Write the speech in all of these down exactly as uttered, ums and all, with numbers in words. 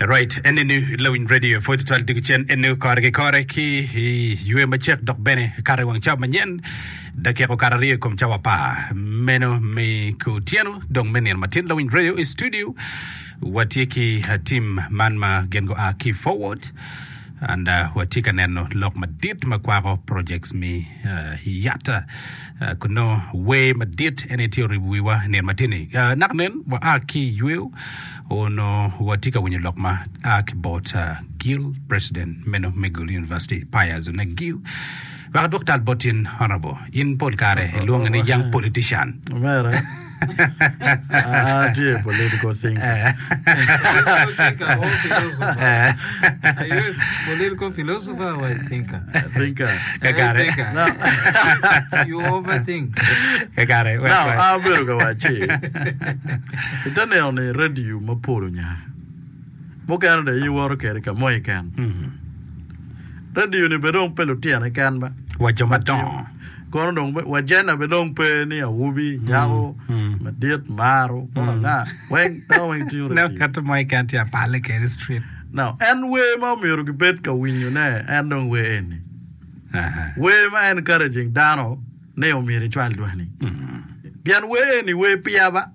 Right, enini Lawiny Radio pwod twal dugu cen enu kore ki kore ki i ywe macek dok bene kare wang cawa manyen dakika okato aryo i kom cawa apar meno me kutyeno dong me nino matin Lawiny Radio i studio watye ki uh, team man ma gin gua ki forward and uh, watye ka neno lok madit ma kwako projects mi uh, yata uh, kuno wer madit ene tye oribo wiwa i nino matini uh, naka nen wa a ki yweyo ono watye ka winyo lok ma a ki bot uh, Guild President meno me Gulu University Pius Onek-Giu wek adwok tal bot in honorable in pol kare ilwonge ni young politician Omera, atye political thinker. Political thinker or philosopher? Are you a political philosopher or a thinker? Thinker. Kakare. Thinker. No. You overthink. Kakare. wek- Now, wek. abedo ka wacci ite neno ni radio mapol onya mukene dong iwoto kede ka mo keken radio ni be dong pe lutino keken ba wa jo madongo kono dong be- wa jena be dong pe ni awobi nyako madit maro kono anga weng dano weng tingo No, radio kato mo keken tye apale kede street now en wer ma omyero gibed ka winyone en dong wer eni Aha. wer ma encouraging dano ni omyero icwal dwani pien wer eni wer piya ba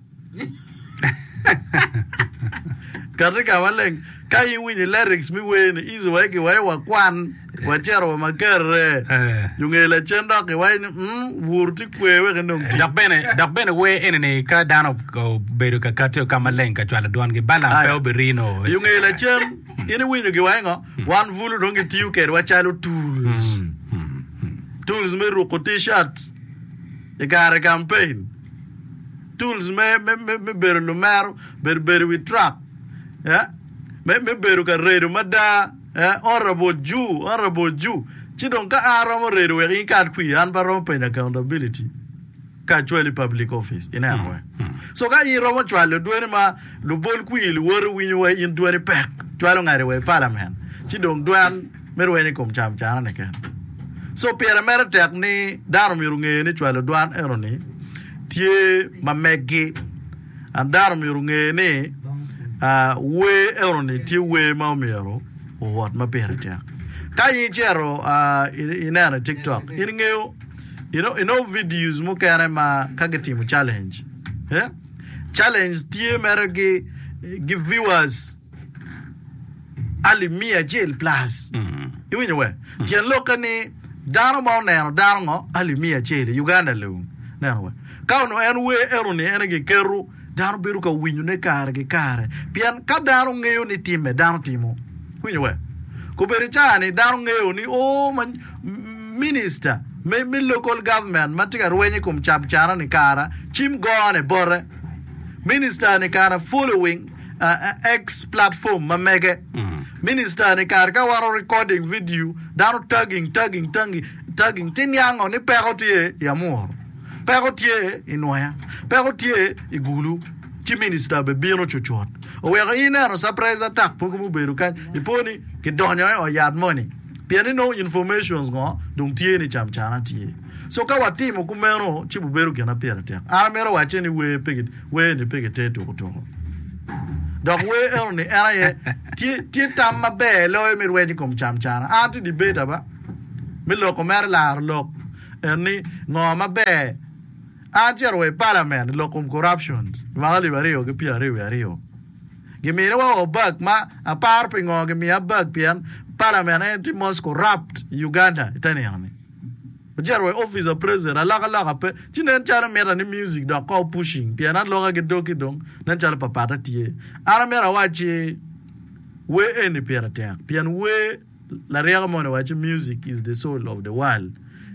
kati ka maleng ka in winyo lyrics mi wer ni easy wa ki wa wakwan wacito wa makerre Eh. junge lacen dok iwaci ni mm, bur tye kwe wek inong tic dok bene dok bene wer eni ni ka dano obedo ka kati ka maleng ka cwalo dwangi balam pe Aya. obirino junge lacen in iwinyo giwaci ngo wan bulu dong gitiyo kedwa calo tools tools me ruko t-shirt i kare campaign tools me, me, me, me bedo lumero bedo bedo wi truck eh? me, me bedo ka redo mada eh? Honorable Jew honorable Jew ci dong ka an romo redo wek in kat kwi an pa romo penyo accountability ka acwali public office ineno we so ka in romo cwalo dweni ma lubol kwi luwote winyo wa in dweni pek cwalo ngati wa i parliament ci dong dwan me rweny i kom cam cana ni ken so pire mere tek ni dano myero nge ni cwalo dwan eno ni tye ma meggi and dano myero nge ni uh, wer eno ni tye wer ma omyero owot ma pire tek ka in icito uh, ineno i tiktok in ingeyo you know, you know videos mukene ma ka gitimo challenge eh? challenge tye mere gi, gi viewers alip mia acel plus iwinyo we tyen lokke ni dano ma oneno dano ngo alip mia acel i Uganda lung neno we ka ono en wer eno ni en giketo dano bedo ka winyone kare ki kare pien ka dano ngeyo ni time dano timo winyo we kobedo caa ni dano ngeyo ni o ma minister me, me local government ma tye ka rwenyo i kom cam cana ni kara cim gone bote minister ni kara following uh, X platform ma mege minister ni kara ka waro recording video dano tagging tagging tagging tagging ti niango ni peko tye i amur peko tye i nwoya peko tye i gulu ci minister be bino cucut oweko in ineno surprise attack mogo mubedo kany ipo ni kidonyo i ot yat moni pien ni no informations ngo dong tye ni cam cana tye so ka watimo kumeno ci bubedo gin ma pire tek an amito wacce ni wer pe gi- wer ni pe gite tukutuku dok wer eno ni en aye tye, tye tam maber loyo mi rweny i kom cam cana an tye debate aba mi loko mere laro lok en ni ngo maber an cito wa i parliament i lok kom corruption mwaka alip aryo ki pyera aryo wiye aryo gimine wa wa bag ma aparo pi ngo gimiya bag pien parliament en tye most corrupt i Uganda ite nino ni ocito wa i office of president alokaloka pe ci nen calo mita ni music dok ko pushing pien aloka ki doki dong nen calo papata tye an amito awacci wer eni pire tek pien wer laryeko moni waco music is the soul of the world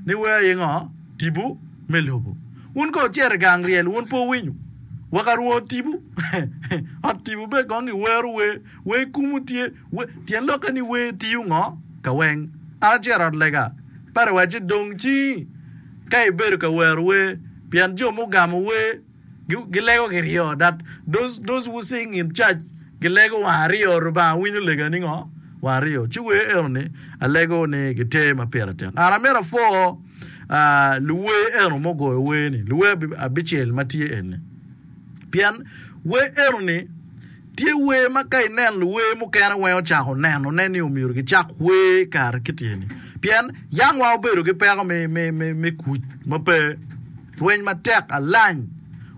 ni wer aye ngo tipo me lobo wun ka wucito i gang ryel wun pe wuwinyo wa ka rwo tipo ot tipo be kong giwero wer wer kumu tye wer tyen lokke ni wer tiyo ngo ka weng an acito ot lega pare wacci dong ci ka ibedo ka wero wer pien jo mugamo wer gilego kiryo that those, those who sing in church gilego wang aryo Rubanga winyo lega ni ngo wang aryo ci wer eno ni alego ni giter ma pire tek an amito apwo uh, luwer eno mugoyo wer ni luwer abicel ma tye eni pien wer eno ni Tye wer ma ka inen luwer mukene weng ocako nenone ni omyero gicak wer kare ki tyeni. Pien yang wa obedo ki peko me, me, me, me kuc ma pe rweny matek alany.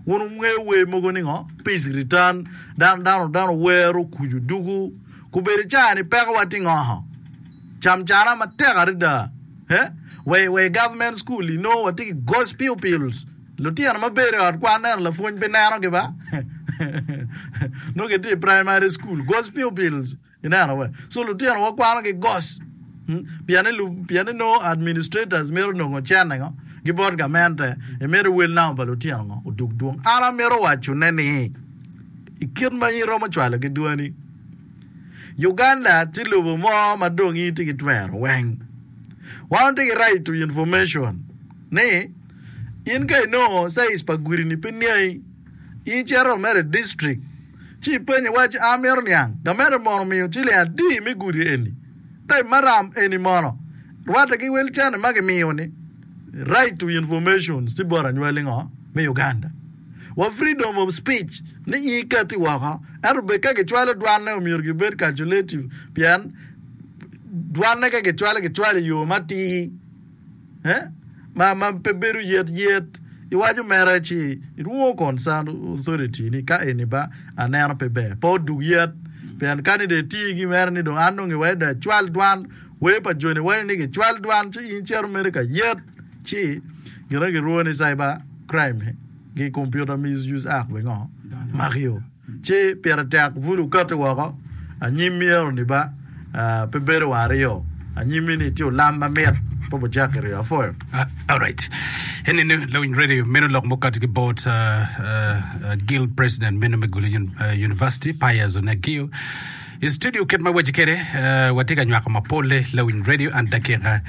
Wun wungeyo wer mogo ni ngo? Peace return, dano, dano, dano wero kuc odugu. Kubedo i caa-ni peko wa tye ngo? Camcana matek adada. Eh? Wa, wa i government school inongo watye ki ghost pupils. Lutino ma bedo i ot kwan neno lapwony pe nenogi ba? Nongo gitye i primary school, ghost pupils ineno we. So lutino wa kwano ki ghost pien ni pien ni nongo administrators mito nongo cene ngo ki bot gamente imito wel namba pa lutino ngo odug dwong. An amito waco ne ni i kit ma in iromo cwalo ki dwani Uganda tye lobo mo ma dong in itye ki twero weng. Wan watye ki right to information ni In ka inongo size pa gudi-ni pe niangi, in icito mere i district ci ipenyo iwaci amito niang gamente mono omiyo ciling adi me gudi eni? Type maram eni mono rwatte ki wel cene ma gimiyo ni? Right to information tye bot anywali ngo me Uganda. Wa freedom of speech ni in ikati woko ento bed ka gicwalo dwanne omyero gibed calculative pien dwanne ka gicwalo gicwalo i yo matir. ma ma pe bedo yet yet iwaco mere ci irwongo concern authority ni ka eni ba aneno pe ber pe odug yet pien ka ni dong iti gi mere ni dong an dong iwaco dong acwal dwan wer pa joni waco ni gicwal dwan ci in icito mere ka yet ci gin ma girwongo ni cyber crime ki computer misuse act bene ngo makio. Ci pire tek bul okati woko anyim myero ni ba pe bedo wa aryo anyimmi ni tye olam mamit pa bucak kiryo apwoyo. Alright. Enini lawiny radio meno lok mukati ki bot Guild President meno me Gulu University Pius Onegio. I studio kit ma waci kede watye ka nywako mapole lawiny radio and dakika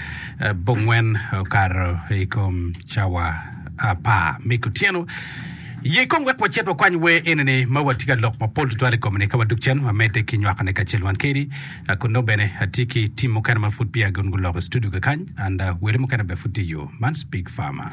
bongwen okato i kom cawa apar me kutyeno. Ye kong wek wacit wakwany wer eni-ni ma watye ka lok mapol tutwal i kome-ni. Ka wadug cen, wamedde ki nywakone kacel wan kedi. Kun nongo bene atye ki tim mukene ma pud peya gin guloko i studio kakany and wele mukene bene pud tye i yo. Man Speak Farmer.